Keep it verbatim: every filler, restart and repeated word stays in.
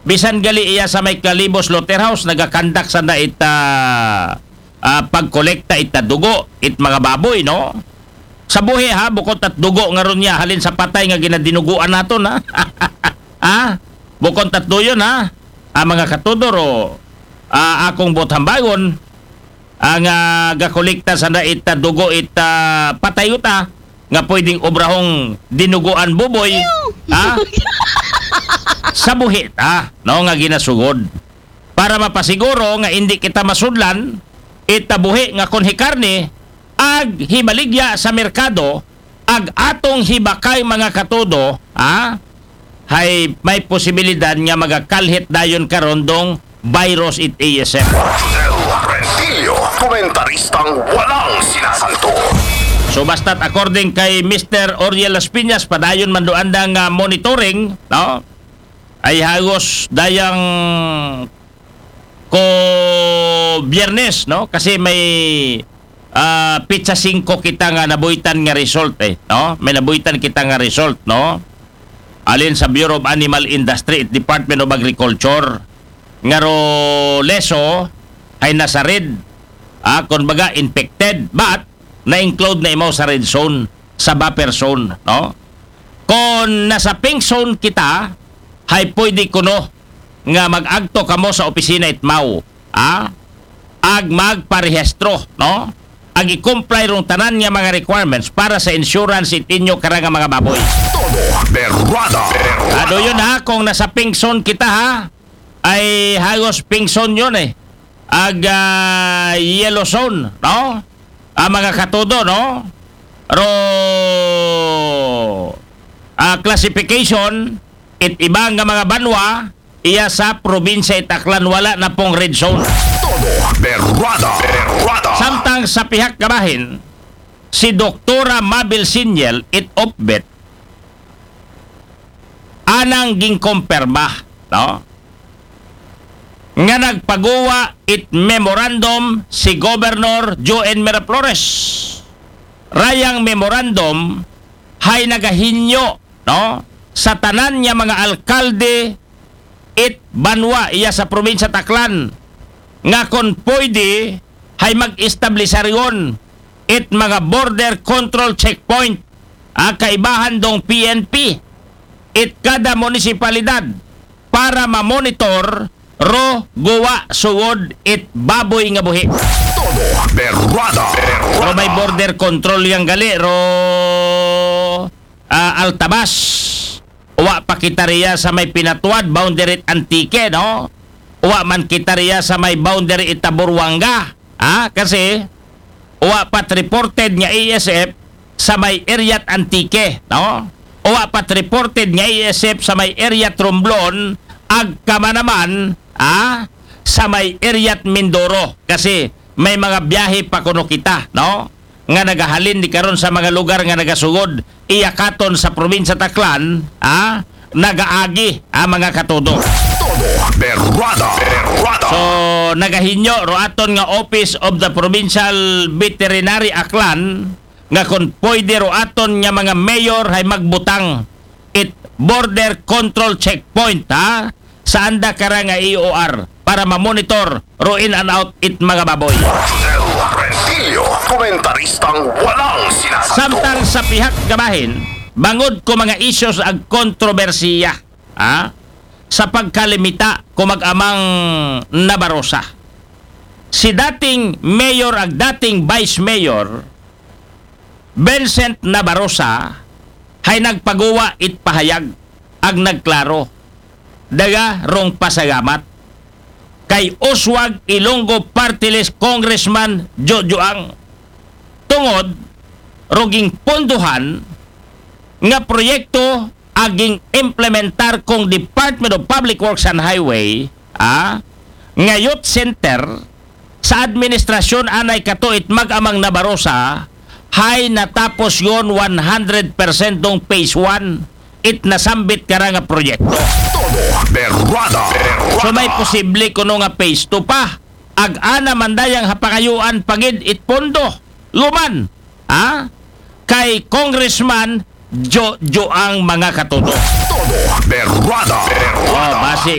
Bisan gali iya sa may Kalibos Slaughterhouse, nagakandak sanda ita, ah, pagkolekta ita dugo, it mga baboy, no? Sa buhi, ha, bukod at dugo nga ron niya, halin sa patay nga ginadinuguan naton, ha? Ha? Bukod at duyon, ha? Ah, mga katudo, ro, ah, akong buot hambagon, ang, ah, gakolekta sanda ita dugo ita patay uta, nga pwedeng obrahong dinuguan buboy, ha? Sa buhi ta, no, nga ginasugod. Para mapasiguro nga indi kita masudlan, ita buhi nga kon hikarne, ag hibaligya sa merkado, ag atong hibakay, mga katudo, ha? Hay may posibilidad nga magakalhit dayon karon dong virus it A S F. Del Rentillo, komentaristang walang sinasanto. So, basta't according kay Mister Oriel Las Piñas, padayon man do anda nga monitoring, no? Ay hagos dayang ko Biyernes, no? Kasi may, ah, pitsa singko kita nga nabuhitan nga result, eh, no? May nabuhitan kita nga result, no? Alin sa Bureau of Animal Industry, Department of Agriculture. Nga ro leso, hay nasa red, ah, kon baga infected, but na-include na imaw sa red zone, sa buffer zone, no? Kon nasa pink zone kita, hay pwede kuno nga mag-agto kamo sa opisina it MAO, ah, ag magparehistro, no? Ag i-comply rong tanan nga mga requirements para sa insurance it inyo kara nga mga baboy. Todo berrada. Ado yun, ha, kung nasa pink zone kita, ha, ay hagos pink zone yun, eh. Ag, ah, yellow zone, no? Ang mga katudo, no? Ro, ah, classification, it iba nga mga banwa, iya sa probinsya it Aklan wala na pong red zone. Todo berrada. Berrada. Samtang sa pihak kabahin, si Doktora Mabel Sinyel it OPVET, anang ginkomperma, no? Nga nagpaguwa it memorandum si Governor Joe N. Miraflores. Rayang memorandum hay nagahinyo, no, sa tanan nga mga alkalde it banwa iya sa probinsya Aklan nga kon pwede hay mag-establisaryon it mga border control checkpoint, ah, kaibahan dong P N P it kada munisipalidad para ma-monitor ro guwa sugod it baboy nga buhi. Todo berrada. Ro may border control yang gali ro, ah, Altabas. Uwa pa kita riya sa may Pinatuad, boundary it Antique, no? Uwa man kita riya sa may boundary it Taburuanga. Ah, kasi uwa pat reported nga A S F sa may area it Antique, no? Uwa pat reported nga A S F sa may area it Romblon, ag kama naman, ah, sa may area it Mindoro. Kasi may mga biyahe pa kuno kita, no? Nga nagahalin di karon sa mga lugar nga nagasugod, iya katon sa probinsya Aklan, ah, nagaagi, ah, mga katudo. Todo berrada. Berrada. So, nagahinyo ro aton nga Office of the Provincial Veterinary Aklan nga kon pwede ro aton nga mga mayor hay magbutang it border control checkpoint, ha, sa anda kara nga E O R para ma-monitor ro in and out it mga baboy. Del Rentillo, komentaristang walang sinasanto. Samtang sa pihak kabahin, bangod ko mga issues ag kontrobersiya, ha, sa pagkalimita ko mag-amang Nabarosa. Si dating mayor ag dating vice mayor, Vincent Nabarosa, hay nagpaguwa it pahayag ag nagklaro. Daga rong pasagamat kay Oswag Ilonggo Party List Congressman Jojo Ang tungod ro ginpondohan nga proyekto aging implementar kong Department of Public Works and Highway, ah, nga youth center sa administrasyon anay katuit mag-amang Nabarosa, hay natapos yon one hundred percent dong phase one it nasambit kara nga proyekto. Todo berrada. So may posible kuno nga phase two pa. Ag ana man dayang hapangayuan pagid it pondo. Luman, ha? Kay Congressman Jojo Ang mga katudo. Todo berrada. Oh, basi